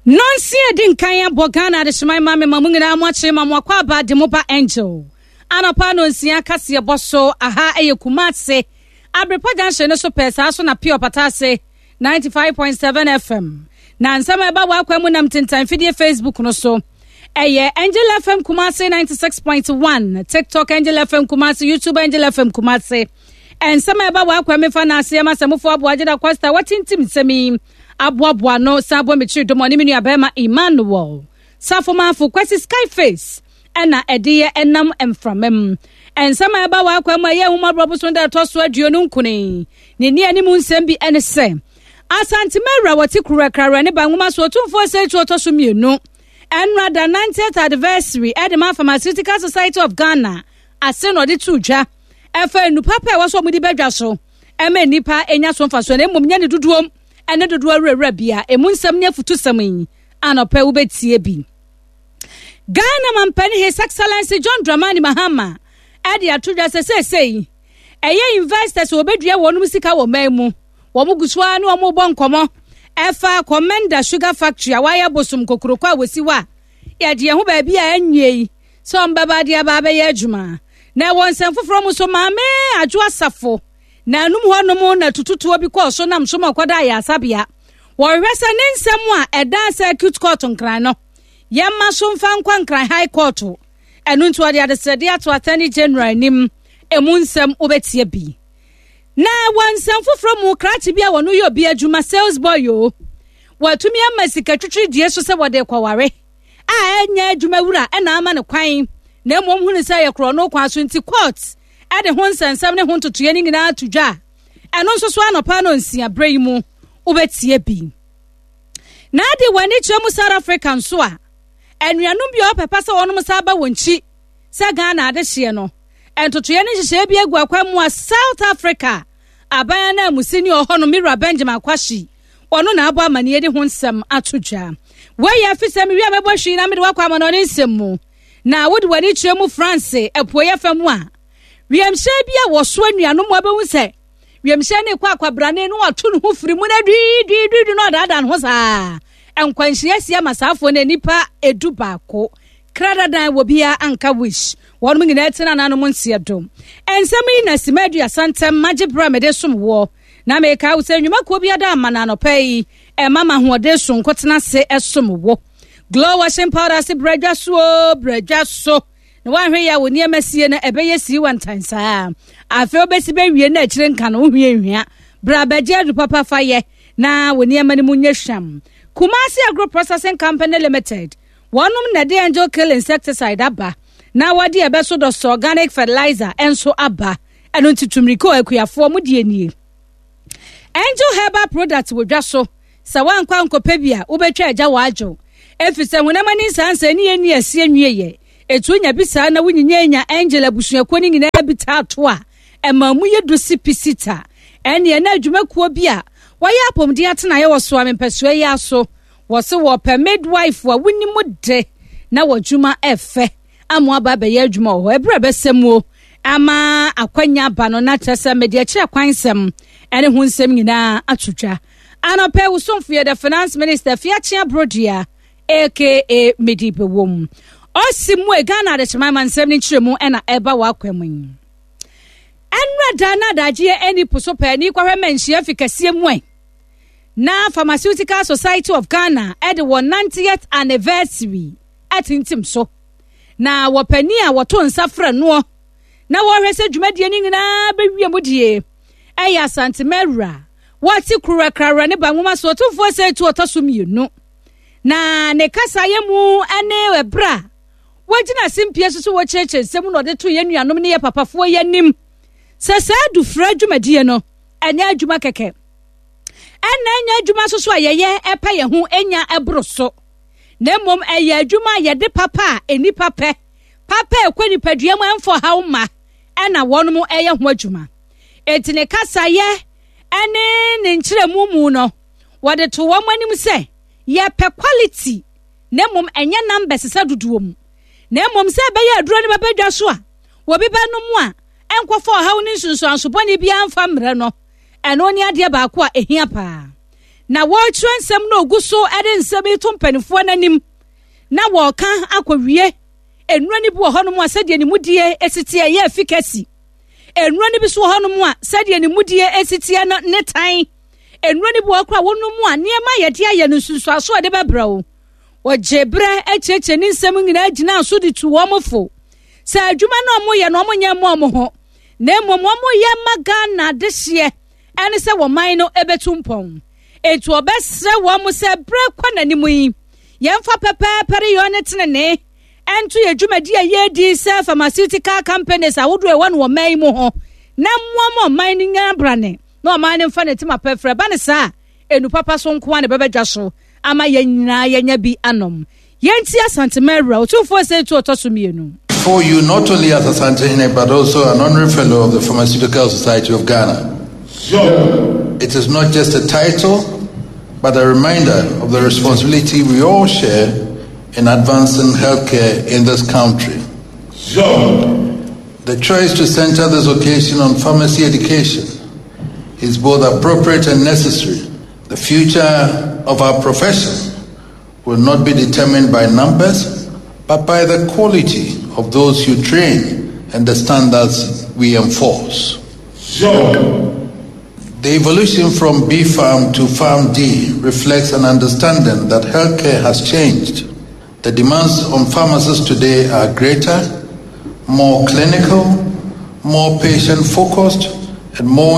Nonsia edi nkan abɔ Ghana adehyeman ma me ma mo nyinaa mo akyere ma mo akɔ aba de mo ba Angel. Anɔpa nonsia kaseɛ bɔ so aha ɛyɛ Kumase Abrepa junction no so pɛɛ saa so na Pure Pata ase 95.7 FM. Na nsɛm a ɛba wɔ akwan mu nam tentan fidie Facebook no so. Ɛyɛ Angel FM Kumase 96.1, TikTok Angel FM Kumase, YouTube Angel FM Kumase. Nsɛm a ɛba wɔ akwan mu fa na aseɛ ma sɛmufo aboa Gyeda Costa watintim nsɛm yi aboaboa no san bɔ me kyiri dɔm ɔne me nua bɛrima Emmanuel Safomafo Kwasi Skyface ɛna ɛde yɛ ɛnam mframa mu. Nsɛm a ɛba wɔ akwan mu a ɛyɛ ahummɔborɔ bosom da ɛtɔ so 29 ne ne anim nsɛm bi ɛne sɛ Asante Mawura wɔte Kurakrawura ne ba nwoma so Otumfoɔ Osei Tuo ɔtɔ so mmienu ɛnora da 90th anniversary ɛde ma Pharmaceutical Society of Ghana ase na ɔde too dwa ɛfa nnupa pa ɛwɔ so ɔmode badwa so ɛma nnipa nya so mfasoɔ na mmom nyɛ ne dodoɔm ɛne dodoɔ awurawura bia emu nsɛm ne afutusɛm yi anɔpɛ wobɛtie bi. Ghana mampanin His Excellency John Dramani Mahama ɛde ato dwa sɛ seesei ɛyɛ investors a wɔbɛdua wɔn sika wɔ man mu wɔn gu so ara ne wɔn bɔ nkɔmɔ ɛfa Komenda Sugar Factory a wɔayɛ bosom kokoroko a wɔsi hɔ a yɛde yɛn ho baabi a ɛnyɛ yi sɛ wɔn bɛba de aba abɛyɛ adwuma. Na ɛwɔ nsɛm foforɔ mu nso, Maame Adwo Asafo na anum hɔnom na tututuo bi kɔɔ so nam so ma ɔkɔda ayaresabea. Wɔhwehwɛ sɛ ne nsɛm a ɛda Circuit Court Nkran no, yɛmma so mfa nkɔ Nkran High Court. Ɛno nti wɔde adesrɛdeɛ ato Attorney General anim. Emu nsɛm wobɛtie bi. Na wɔ nsɛm foforɔ mu, krakye bi a wɔn yɛ obi adwuma, sales boy o, wɔatumi ama sika twitwiridie so sɛ wɔde kɔware a ɛnyɛ adwuma wura na ama no kwan na mmom hunu sɛ ɛyɛ korɔno kwan so nti court de ho nsɛnsɛm ne ho ntotoeɛ no nyinaa to dwa a ɛno nso so anɔpa no nsia berɛ yi mu wobɛtie bi. Na ade wɔ ani kyerɛ mu South Africa nso a anuanom bi a wɔpɛpɛ sɛ wɔnom sa ba wɔn nkyi sɛ Ghana adehyeɛ no ntotoeɛ ne nhyehyɛeɛ bi agu akwan mu a South Africa aban ananmusini ɔhɔ no Mira Benjamin Kwashi Ɔno na abɔ amanneɛ de ho nsɛm ato dwa. Wei yɛ efisɛ mewie a mɛbɔ hwii na mede wo akɔ amanɔne nsɛm mu. Na wode w'ani kyerɛ mu France apueeɛ fam a, wiemhyɛn bi a wɔsoa nnuanom abɛhu sɛ wiemhyɛn no rekɔ akwabrane na wato ne ho firi mu na dwiidwiidwiidwi na ɔdaadaa ne ho saa. Nkwanhyia asi ama saafoɔ no nnipa 11. Kradadan wɔ biara anka wish. Wɔnom nyinaa tena nanom nseɛ do. Nsɛm yi na sima 30 ntɛm magye berɛ a mede som woɔ. Na mekae wo sɛ nnwumakuo bi ada ama no anɔpa yi, ɛma ma ahoɔden sononko tena ase som wo. Glow washing powder ase brɛ dwa so o, brɛ dwa so. Na woanhwɛ yɛ a wo nneɛma sie no ɛbɛyɛ sii wantan saa. Afei wobɛsi bɛwie na akyire nka no wohwie nhwia. Bra bɛgye adu papa fa yɛ na wo nneɛma no mu nyɛ hwam. Kumasi Agro Processing Company Limited, wɔnom na ɛde Angel Kill Insecticide aba na wɔde ɛbɛso dɔsɔ organic fertilizer nso aba. Ɛno nti tu mmirika o akuafoɔ mo deɛ nie. Angel herbal product wɔ dwa so sɛ woankɔ ankɔpɛ bi a wobɛtwa agya wɔ adwo ɛfiri sɛ honam ani nsansa ne yɛnni aseɛ nwieɛ ɛtu nya bi saa na wonyinya nya angel abusuakuo no nyinaa bi taa to a ɛma mu yɛ du si pisita ɛneɛ na adwumakuo bi a wɔyɛ apɔmuden atenaeɛ wɔ soa mempɛsoa yi aso wɔ se wɔpɛ midwife a wonim de na wɔdwuma ɛfɛ ama aba abɛyɛ adwuma wɔ hɔ. Ɛberɛ a ɛbɛsɛ muo ama akwanya aba no, na kyerɛ sɛ mede akyerɛ kwan nsɛm ɛne ho nsɛm nyinaa ato dwa. Anɔpɛ wo somfo yɛ the finance minister Fiakye Abrodua aka Medi Bewom. Ɔsi mu e Ghana adekyeman ma nsɛm ne nkyerɛmu ɛna ɛba wɔ akwa mu yi. Ɛnora da na adagyeɛ ɛni po so pɛɛ ni kɔhwɛ ma nhyia fi kɛseɛ mu ɛ. Na Pharmaceutical Society of Ghana ɛde wɔn 90th anniversary atintim so, na wɔpanin a wɔto nsa frɛ noɔ na wɔhwɛ sɛ dwumadie no nyinaa bɛwie mu die ɛyɛ Asantema awura wɔte Kurakrawura ne Banwoma so ɔtumfoɔ sɛ tu ɔtɔ so mmienu na ne kasaeɛ mu ne ɛberɛ a wɔgyina simpie so so wɔkyerɛkyerɛ nsɛm na ɔde to yɛn nuanom ne yɛ papafoɔ yɛ anim sɛ saa adufra dwumadie no ɛnyɛ adwuma kɛkɛ ɛna ɛnyɛ adwuma nso so a yɛyɛ ɛpɛ yɛn ho ɛnya ɛboro so. Na mmom ɛyɛ adwuma a yɛde papa a nnipa pɛ, papa a ɛkɔ nipadua mu ɛmfa ɔhaw mma, ɛna wɔnom ɛyɛ ho adwuma. Enti ne kasayɛ ɛne ne nkyerɛmu mu no, wɔde to wɔn anim sɛ yɛpɛ quality na mmom ɛnyɛ numbers sɛ dodoɔ mu. Na mmom sɛ ɛbɛyɛ aduro no bɛbɛ dwa so a, wɔbi bɛnom a ɛnkɔfa ɔhaw ne nsunsuanso bɔne biara mfa mmerɛ no, ɛno ne adeɛ baako a ɛhia paa. Na wɔretwerɛ nsɛm na ɔgu so de nsɛm yi to mpanimfoɔ no anim na wɔreka akɔwie. Nnuro no bi wɔ hɔnom a sɛdeɛ ne mudie si teɛ yɛ efficacy. Nnuro no bi so wɔ hɔnom a sɛdeɛ ne mudie si teɛ no ne tan. Nnuro no bi wɔ hɔ koraa wɔnom a nneɛma a yɛde ayɛ no nsunsuanso a ɛde bɛbrɛ wo. Wɔgye berɛ kyerɛkyerɛ ne nsɛm nyinaa gyinaa so de tu wɔn fo sɛ adwuma no a wɔyɛ no wɔnyɛ mma wɔn ho na mmom wɔyɛ ma Ghana adehyeɛ ɛne sɛ wɔn man no ɛbɛtu mpɔn. Enti wɔbɛsrɛ wɔn sɛ berɛ kɔ n'anim yi yɛmfa pɛpɛɛpɛ reyɔ ne tenenee ɛnto yɛ dwumadi a yɛredi sɛ pharmaceutical companies ahodoɔ ɛwɔ no wɔ man yi mu ho na mmoa ma ɔman no nya brane na ɔman no mfa ne tema pɛfrɛ ba ne saa enu papa so nko ara na ɛbɛba dwa so ama yɛn nyinaa yɛanya bi anom. Yɛntie Asanteman Awura, Otumfoɔ Osei Tuo ɔtɔ so mmienu. For you not only as Asantehene but also an honorary fellow of the Pharmaceutical Society of Ghana. It is not just a title, but a reminder of the responsibility we all share in advancing healthcare in this country. The choice to center this occasion on pharmacy education is both appropriate and necessary. The future of our profession will not be determined by numbers, but by the quality of those you train and the standards we enforce. The evolution from B Farm to Farm D reflects an understanding that healthcare has changed. The demands on pharmacists today are greater, more clinical, more patient focused, and more